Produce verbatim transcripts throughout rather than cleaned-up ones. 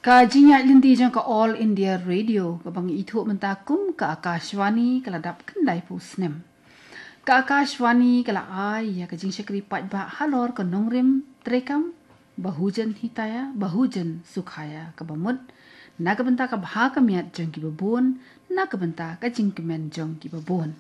Ka jingïaid lynti jong ka All India Radio, kaba ngi ithuh mynta kum ka Akashvani, ka la dap khyndai phew snem. Ka Akashvani ka la ai ïa ka jingshakri paidbah halor ka nongrim treikam, Bahujan Hitaya, Bahujan Sukhaya, kaba mut na ka bynta ka bha ka miat jong kiba bun, na ka bynta ka jingkmen jong kiba bun.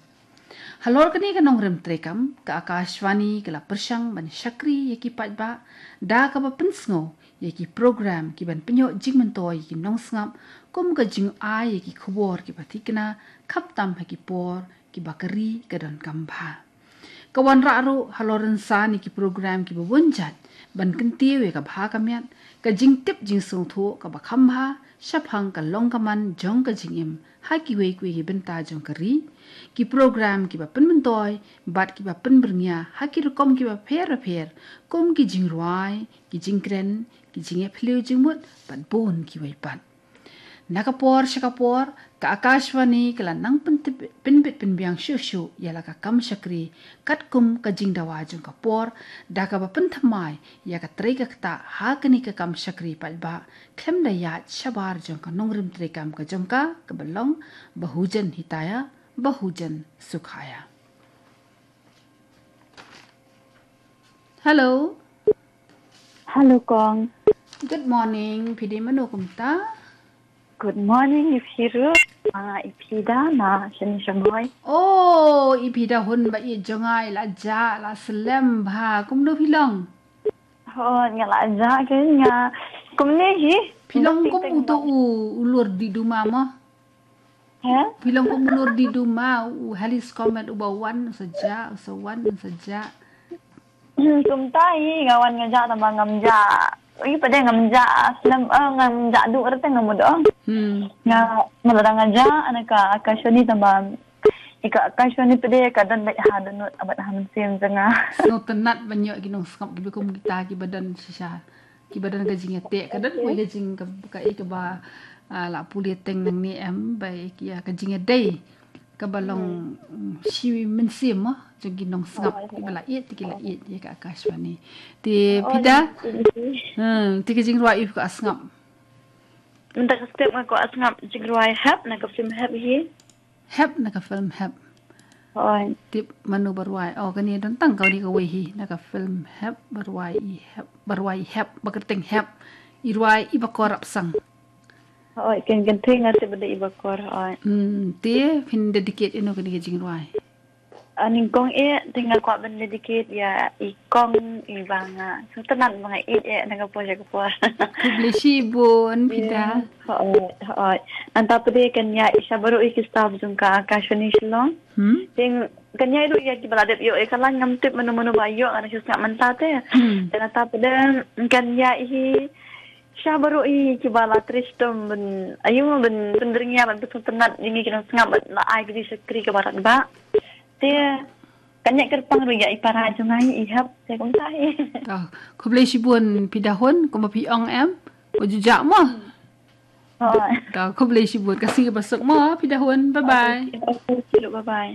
Halor kane ka nongrim treikam, ka Akashvani ka la pyrshang ban shakri ïa ki paidbah da kaba pynsngew ïa ki program kiban pynïoh jingmyntoi ïa ki nongsngap, kum ka jingai ïa ki khubor kiba thikna, khamtam ha ki por kiba ka ri ka donkam bha. Ka wanrah ruh halor rynsan ïa ki program kiba bun jait ban kyntiew ïa ka bha ka miat, ka jingtip jingsngewthuh kaba kham bha shaphang ka long ka man jong ka jingim ha kiwei kiwei ki bynta jong ka ri, ki program kiba pynmyntoi bad kiba pynbyrngia ha ki rukom kiba pher bapher, kum ki jingrwai, ki jingkren, ki jingïaphylliew jingmut bad bun kiwei pat. Na ka por sha ka por, ka Akashvani ka la nang pyntip-, pynbit pynbiang shuh shuh ïa la ka kam shakri, katkum ka jingdawa jong ka por, da kaba pynthymmai ïa ka trei ka ktah ha kane ka kam shakri paidbah, khlem da ïaid shabar jong ka nongrim treikam ka jong ka, kaba long Bahujan Hitaya, Bahujan Sukhaya. Hello. Hello, Kong. Good morning. Phi dei mano kumta? Good morning, i phi ruh. Ah, i phi da na shani shamoi. Oh, i phi da hun ba i jong nga, i la jah, la slem bha. Kumno phi long? Oh, nga la jah ke nga. Kumne hi. Phi long kum uto u, u lur di duma mo? He? Phi long kum u lur di duma, u Halley's Comet uba wan, u sa jah, u sa wan, u sa jah. Hmm, kumta hi, nga wan nga jah tang ba ngam jah. Ui, pat de ngam jah slem, eh, ngam jah duh rete ngam mut, oh. Hmm. Nga, nga la dang nga jah, ana ka Akashvani tang ba. Ïa ka Akashvani pat de ka don beit ha dohnud bad ha mynsiem jong nga. Sngewtynnat ban ïoh ki nongsngap kiba kum kita kiba don shisha. Kiba don ka jingïateh, ka don wei ka jing ka, ka, eh, kaba, ah, la pule teng nangne em, ba, eh, ki, ah, ka jingïadei. Kaba long, mm, shi mynsiem mo, jong ki nongsngap, kiba la ïeit, ki la ïeit ïa ka Akashvani. Te phi da? Hmm, te ka jingrwai ïa phi ka sngap. Mynta ka step nga ka sngap jingrwai Hep, na ka film Hep hi. Hep na ka film Hep. Hooid. Tip mano ba rwai. Oh, kane don tang kawei kawei hi na ka film Hep, ba rwai i Hep, ba rwai i Hep, ba kyrteng Hep. I rwai i Bakor Rapsang. Hooid, ken ken thing nga tip ba dei i Bakor, hooid. Hmm, te phin dedicate ïano kane ka jingrwai? Ah, nyngkong eh, te nga kwah ban dedicate ïa i kong i ba nga sngewtynnat ba nga ïeit eh na ka por sha ka por. Khublei shibun, phi da. Hooid, hooid. Nangta pat de kan ïa i sha baroh i ki staff jong ka Akashvani Shillong. Hmm? Te kan ïa ruh ïa kiba la dep ïoh ïa ka line, ngam tip mano mano ba ïoh, nga dang shu sngap mynta te. Hmm. Te nangta pat de kan ïa i sha baroh i kiba la trei shitom ban, aïu, ban pynbyrngia, ban pynsngewtynnat ïa ngi ki nongsngap bad la ai ka jingshakri kaba radbah. Te kan ïa kyrpang ruh ïa i para jong nga i Hep, te kumta hi. To, khublei shibun phi da hun, kumba phi ong em, ko ju jah mo. Hooid. To, khublei shibun, ka sngi kaba suk mo phi da hun. Bye bye. Hooid, bye bye.